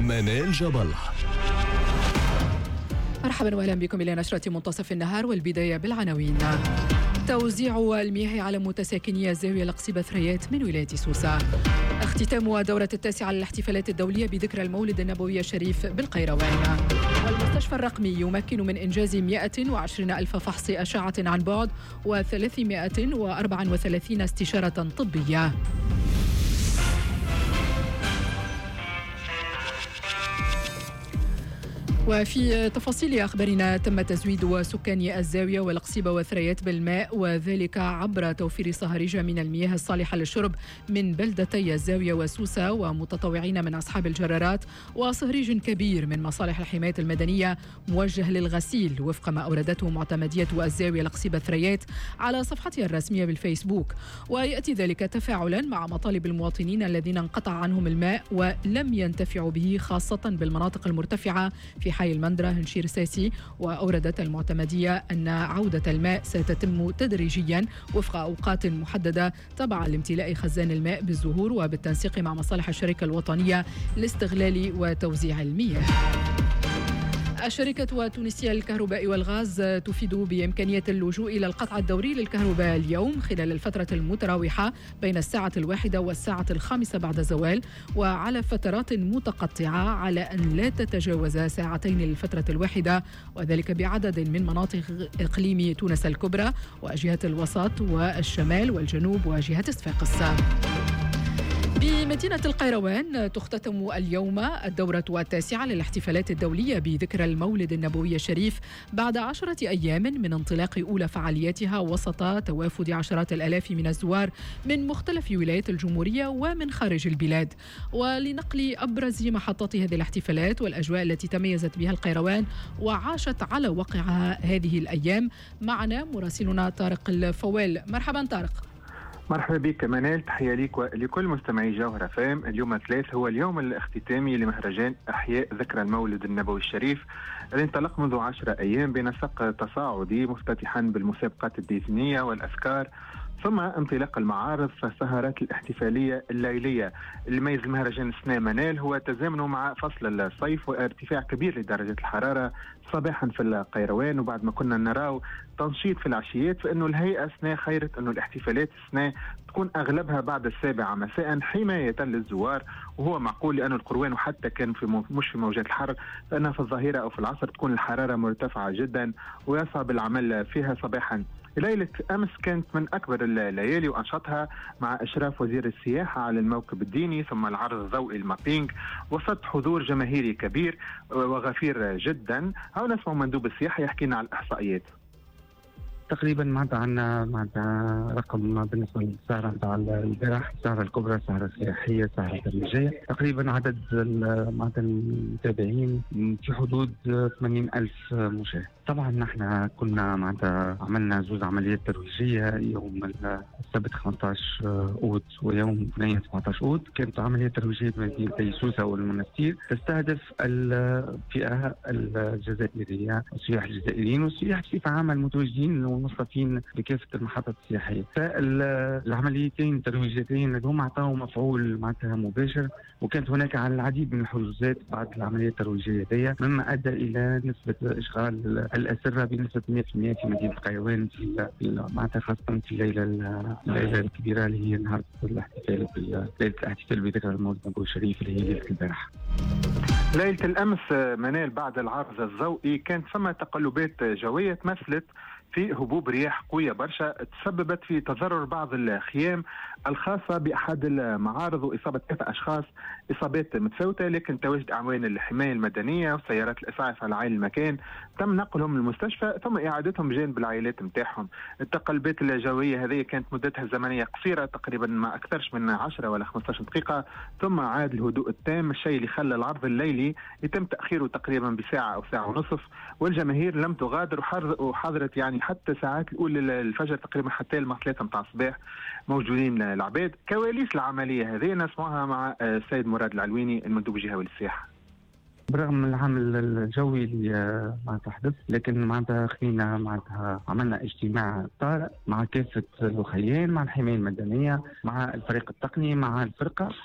منال جبل. مرحبا واهلا بكم الى نشرة منتصف النهار، والبداية بالعناوين. توزيع المياه على متساكني الزاوية القصيبة ثريات من ولاية سوسة. اختتام دورة التاسعة للاحتفالات الدولية بذكرى المولد النبوي الشريف بالقيروان. والمستشفى الرقمي يمكن من إنجاز 120 ألف فحص أشعة عن بعد و334 استشارة طبية. وفي تفاصيل أخبارنا، تم تزويد سكان الزاوية والقصيبة والثريات بالماء، وذلك عبر توفير صهاريج من المياه الصالحة للشرب من بلدتي الزاوية وسوسة ومتطوعين من أصحاب الجرارات، وصهريج كبير من مصالح الحماية المدنية موجه للغسيل، وفق ما أوردته معتمدية الزاوية القصيبة الثريات على صفحتها الرسمية بالفيسبوك. ويأتي ذلك تفاعلا مع مطالب المواطنين الذين انقطع عنهم الماء ولم ينتفعوا به، خاصة بالمناطق المرتفعة في حي المندرة هنشير ساسي. وأوردت المعتمدية أن عودة الماء ستتم تدريجيا وفق أوقات محددة تبعا لامتلاء خزان الماء بالزهور وبالتنسيق مع مصالح الشركة الوطنية لاستغلال وتوزيع المياه. الشركة التونسية للكهرباء والغاز تفيد بإمكانية اللجوء إلى القطع الدوري للكهرباء اليوم خلال الفترة المتراوحة بين الساعة 1 والساعة 5 بعد الزوال، وعلى فترات متقطعة على أن لا تتجاوز ساعتين للفترة الواحدة، وذلك بعدد من مناطق إقليم تونس الكبرى وجهة الوسط والشمال والجنوب وجهة صفاقس. بمدينة القيروان تختتم اليوم الدورة التاسعة للاحتفالات الدولية بذكرى المولد النبوي الشريف بعد 10 أيام من انطلاق أولى فعالياتها، وسط توافد عشرات الآلاف من الزوار من مختلف ولايات الجمهورية ومن خارج البلاد. ولنقل أبرز محطات هذه الاحتفالات والأجواء التي تميزت بها القيروان وعاشت على وقعها هذه الأيام، معنا مراسلنا طارق الفوال. مرحبا طارق. مرحبا بك منال، تحية لك ولكل مستمعي جوهرة فام. اليوم الثلاث هو اليوم الاختتامي لمهرجان أحياء ذكرى المولد النبوي الشريف الذي انطلق منذ 10 أيام بنسق تصاعدي، مفتتحا بالمسابقات الدينية والأذكار، ثم انطلاق المعارض فالسهرات الاحتفالية الليلية. اللي يميز المهرجان السنة منال هو تزامنه مع فصل الصيف وارتفاع كبير لدرجة الحرارة صباحا في القيروان، وبعد ما كنا نراو تنشيط في العشيات، فإنه الهيئة سنة خيرت أنه الاحتفالات السنة تكون أغلبها بعد 7 مساء حماية للزوار، وهو معقول لأن القروان وحتى كان في مش في موجات الحر، فإنها في الظهيرة أو في العصر تكون الحرارة مرتفعة جدا ويصعب العمل فيها صباحا. ليلة أمس كانت من أكبر الليالي وأنشطها مع إشراف وزير السياحة على الموكب الديني ثم العرض الضوئي ال mapping، وسط حضور جماهيري كبير وغفير جدا. هنا نسمع مندوب السياحة يحكينا على الإحصائيات. تقريبا معناتها عندنا معناتها رقم بالنسبة للسهره نتاع البارح، السهرة الكبرى، السهرة السياحية، السهرة الترويجيه، تقريبا عدد معناتها المتابعين في حدود 80 ألف مشاهد. طبعا نحن كنا معناتها عملنا زوز عمليات ترويجيه، يوم السبت 15 اوت ويوم 17 اوت، كانت عملية ترويجيه بمدينتي سوسة والمنستير تستهدف الفئة الجزائرية، السياح الجزائريين والسياح بصفة عامة المتواجدين والمصطفين بكافة المحطات السياحية. فالعمليتين الترويجيتين هذوما عطاو مفعول معناتها مباشر، وكانت هناك على العديد من الحجوزات بعد العملية الترويجيه هذيا، مما ادى الى نسبه اشغال الاسرة بنسبة 100% في مدينة القيروان في معناتها خاصة في الليلة الكبيرة اللي هي نهار الاحتفال، ليلة الاحتفال بذكرى المولد النبوي الشريف اللي هي ليلة البارحة. ليلة الامس منال بعد العرض الضوئي كانت ثم تقلبات جوية تمثلت في هبوب رياح قوية برشا تسببت في تضرر بعض الخيام الخاصة بأحد المعارض وإصابة 3 أشخاص إصابات متفاوتة، لكن تواجد أعوان الحماية المدنية وسيارات الإسعاف على عين المكان تم نقلهم للمستشفى ثم إعادتهم بجانب العائلات نتاعهم. التقلبات الجوية هذه كانت مدتها الزمنية قصيرة تقريبا ما أكثرش من 10 ولا 15 دقيقة، ثم عاد الهدوء التام، الشيء اللي خلى العرض الليلي يتم تأخيره تقريبا بساعة أو ساعة ونصف، والجماهير لم تغادر وحضرت يعني حتى ساعات الأولى الفجر تقريبا حتى الماء 3 متاع الصباح موجودين العباد. كواليس العملية هذه نسمعها مع السيد مراد العلويني المندوب الجهوي للسياحة. برغم من العامل الجوي اللي معناتها حدث، لكن معناتها خلينا معناتها عملنا اجتماع طارئ مع كافة الوخيان، مع الحماية المدنية، مع الفريق التقني، مع الفرقة.